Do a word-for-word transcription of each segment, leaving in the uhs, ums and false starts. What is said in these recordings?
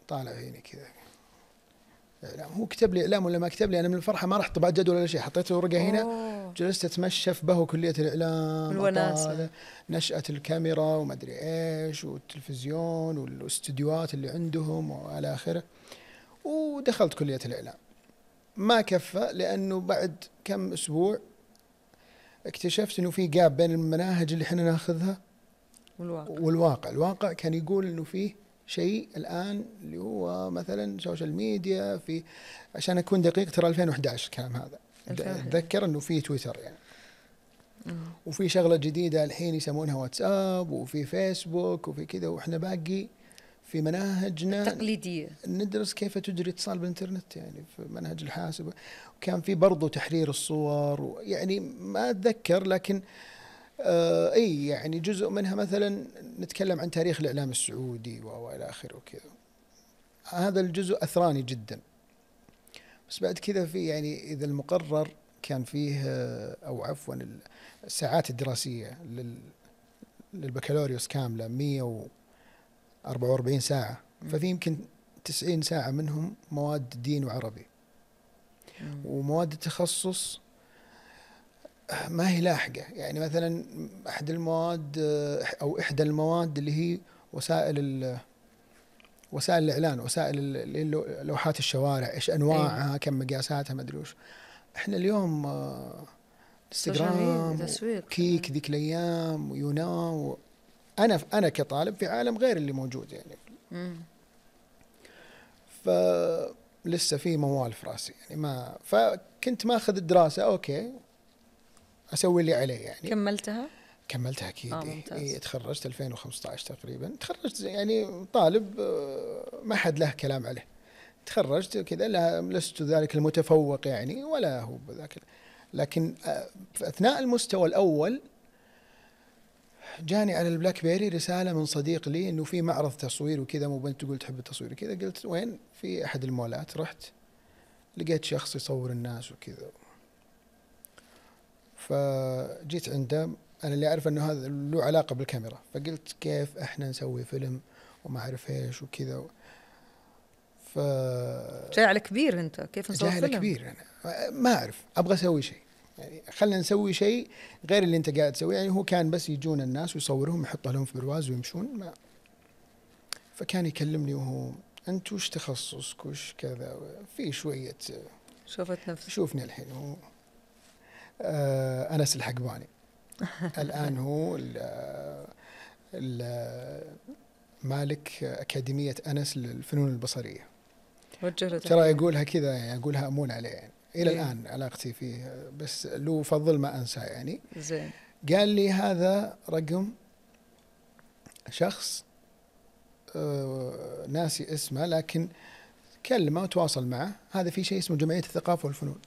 طالع عيني كذا إعلام. هو كتب لي إعلام ولا ما كتب لي، أنا من الفرحة ما رحت طبعت جدول ولا شيء، حطيت ورقة هنا، جلست أتمشى في بهو كلية الإعلام، الوناسة، نشأة الكاميرا وما أدري إيش والتلفزيون والاستديوهات اللي عندهم وعلى آخره. ودخلت كلية الإعلام. ما كفى، لأنه بعد كم أسبوع اكتشفت إنه في جاب بين المناهج اللي إحنا ناخذها والواقع. والواقع. الواقع كان يقول إنه فيه شيء الآن اللي هو مثلا سوشيال ميديا، في عشان أكون دقيق ترى ألفين وإحدى عشر الكلام هذا، أتذكر إنه فيه تويتر يعني، وفي شغلة جديدة الحين يسمونها واتساب، وفي فيسبوك، وفي كذا، وإحنا باقي في مناهجنا تقليدية ندرس كيف تجري اتصال بالإنترنت يعني في منهج الحاسب. وكان في برضو تحرير الصور، يعني ما أتذكر، لكن آه أي يعني جزء منها مثلا نتكلم عن تاريخ الإعلام السعودي وإلى آخره وكذا. هذا الجزء أثراني جدا. بس بعد كذا في يعني إذا المقرر كان فيه أو عفوا الساعات الدراسية للبكالوريوس كاملة مية وأربعة وأربعين ساعة، ففي يمكن تسعين ساعة منهم مواد دين وعربي، ومواد التخصص ما هي لاحقة. يعني مثلا أحد المواد أو إحدى المواد اللي هي وسائل وسائل الإعلان، وسائل لوحات الشوارع، إيش أنواعها، أيه. كم مقاساتها، ما أدري وش. إحنا اليوم انستغرام كيك ذيك الأيام ويونان، أنا أنا كطالب في عالم غير اللي موجود يعني. مم. فلسه في موال في راسي يعني، ما فكنت ما أخذ الدراسة أوكي أسوي اللي عليه يعني. كملتها؟ كملتها أكيد. آه إيه تخرجت ألفين وخمسة عشر تقريبا، تخرجت يعني طالب ما حد له كلام عليه، تخرجت كذا، لا لست ذلك المتفوق يعني ولا هو بذاك، لكن في أثناء المستوى الأول جاني على البلاك بيري رسالة من صديق لي إنه في معرض تصوير وكذا، مو بنت تقول تحب التصوير كذا. قلت وين؟ في أحد المولات. رحت لقيت شخص يصور الناس وكذا، فجيت عنده. أنا اللي أعرف أنه هذا له علاقة بالكاميرا، فقلت كيف إحنا نسوي فيلم وما أعرف إيش وكذا. ف جاي على كبير أنت، كيف نسوي فيلم؟ جاي على كبير أنا ما أعرف، أبغى أسوي شيء يعني، خلنا نسوي شيء غير اللي أنت قاعد تسويه يعني. هو كان بس يجون الناس ويصورهم يحط لهم في برواز ويمشون ما. فكان يكلمني وهو أنت وش تخصصك وش كذا، في شوية شوفت نفسي، شوفني الحين. هو آه أنس الحقباني الآن هو ال ال مالك أكاديمية أنس للفنون البصرية. ترى يقولها كذا يعني، أقولها أمون عليه يعني. إلى إيه؟ الآن علاقتي فيه بس له فضل ما أنسى يعني. زين. قال لي هذا رقم شخص آه ناسي اسمه، لكن كلمه وتواصل معه. هذا في شيء اسمه جمعية الثقافة والفنون،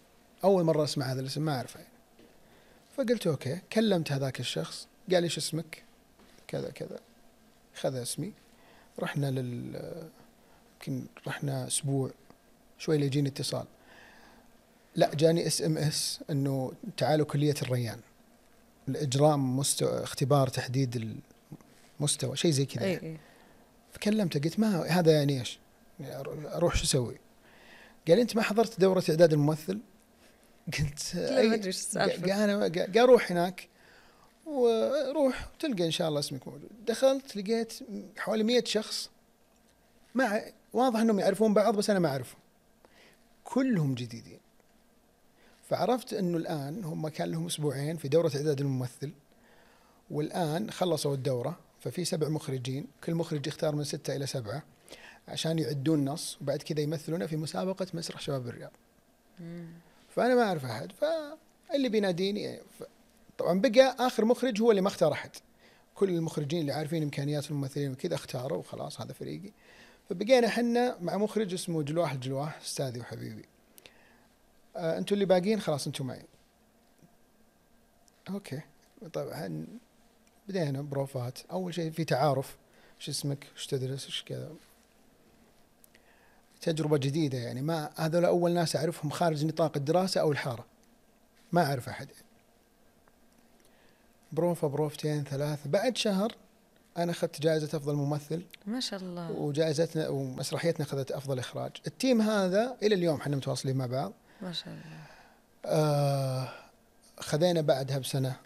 أول مرة أسمع هذا الاسم، ما أعرفه يعني. فقلت أوكي. كلمت هذاك الشخص، قال لي شو اسمك كذا كذا، خذ اسمي. رحنا لل يمكن رحنا أسبوع شوي ليجيني اتصال، لا جاني اس ام اس انه تعالوا كلية الريان الإجراء مستوى اختبار تحديد المستوى، شيء زي كذا يعني. فكلمته قلت ما هذا يعني ايش اروح شو اسوي؟ قال انت ما حضرت دورة اعداد الممثل؟ قلت لا ما ادري ايش السالفة. انا قال روح هناك وروح تلقى ان شاء الله اسمك موجود. دخلت لقيت حوالي مئة شخص، مع واضح انهم يعرفون بعض بس انا ما اعرفهم، كلهم جديدين. فعرفت انه الان هم كان لهم اسبوعين في دورة اعداد الممثل، والان خلصوا الدورة، ففي سبع مخرجين، كل مخرج يختار من ستة الى سبعة عشان يعدون نص، وبعد كذا يمثلونه في مسابقة مسرح شباب الرياض. فانا ما اعرف احد، فاللي بيناديني طبعا بقى اخر مخرج هو اللي ما اختار احد، كل المخرجين اللي عارفين امكانيات الممثلين وكذا اختاروا وخلاص هذا فريقي. فبقينا حنا مع مخرج اسمه جلواح الجلواح، استاذي وحبيبي. آه انتوا اللي باقين خلاص انتوا معي. اوكي طبعا بدينا بروفات. اول شيء في تعارف، ايش اسمك ايش تدرس ايش كذا، تجربة جديدة يعني. ما هذول اول ناس اعرفهم خارج نطاق الدراسة او الحارة، ما اعرف احد. بروفة بروفتين ثلاث، بعد شهر أنا أخذت جائزة أفضل ممثل ما شاء الله. وجائزتنا ومسرحيتنا أخذت أفضل إخراج. التيم هذا إلى اليوم احنا متواصلين مع بعض. ما شاء الله. آه خذينا بعدها بسنة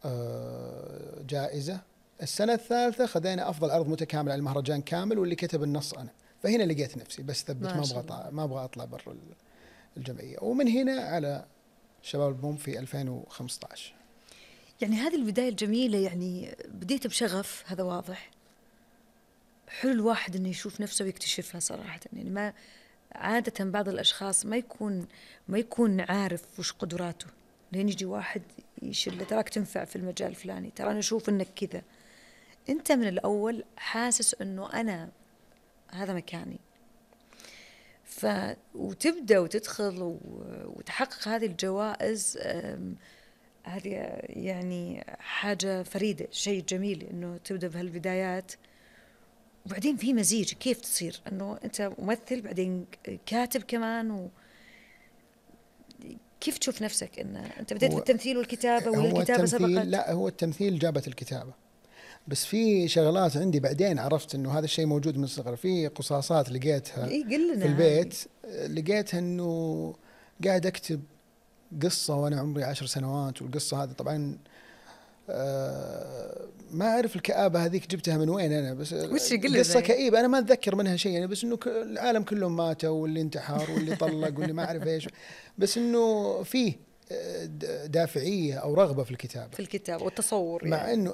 آه جائزة. السنة الثالثة خذينا أفضل عرض متكامل على المهرجان كامل، واللي كتب النص أنا. فهنا لقيت نفسي بس ثبت، ما أبغى ما أبغى أطلع برا الجمعية. ومن هنا على شباب البوم في ألفين وخمسة عشر. يعني هذه البداية الجميلة، يعني بديت بشغف، هذا واضح. حلو الواحد إنه يشوف نفسه ويكتشفها صراحة. يعني ما عادة بعض الأشخاص ما يكون ما يكون عارف وش قدراته، لين يجي واحد يشيل تراك تنفع في المجال الفلاني، ترى أنا أشوف إنك كذا. أنت من الأول حاسس إنه أنا هذا مكاني، ف وتبدأ وتدخل وتحقق هذه الجوائز. هذه يعني حاجة فريدة، شيء جميل إنه تبدأ بهالبدايات. وبعدين في مزيج، كيف تصير إنه أنت ممثل بعدين كاتب كمان، و كيف تشوف نفسك إن أنت بديت في التمثيل والكتابة، ولا الكتابة سبقت؟ لا، هو التمثيل جابت الكتابة، بس في شغلات عندي بعدين عرفت إنه هذا الشيء موجود من الصغر. في قصاصات لقيتها إيه في البيت، لقيتها إنه قاعد أكتب قصة وأنا عمري عشر سنوات، والقصة هذه طبعا آه ما أعرف الكآبة هذيك جبتها من وين أنا، بس قصة كئيبة أنا ما أتذكر منها شيء يعني، بس إنه العالم كلهم ماتوا، واللي انتحر واللي طلق واللي ما أعرف إيش، بس إنه فيه دافعية أو رغبة في الكتابة في الكتاب والتصور مع يعني. إنه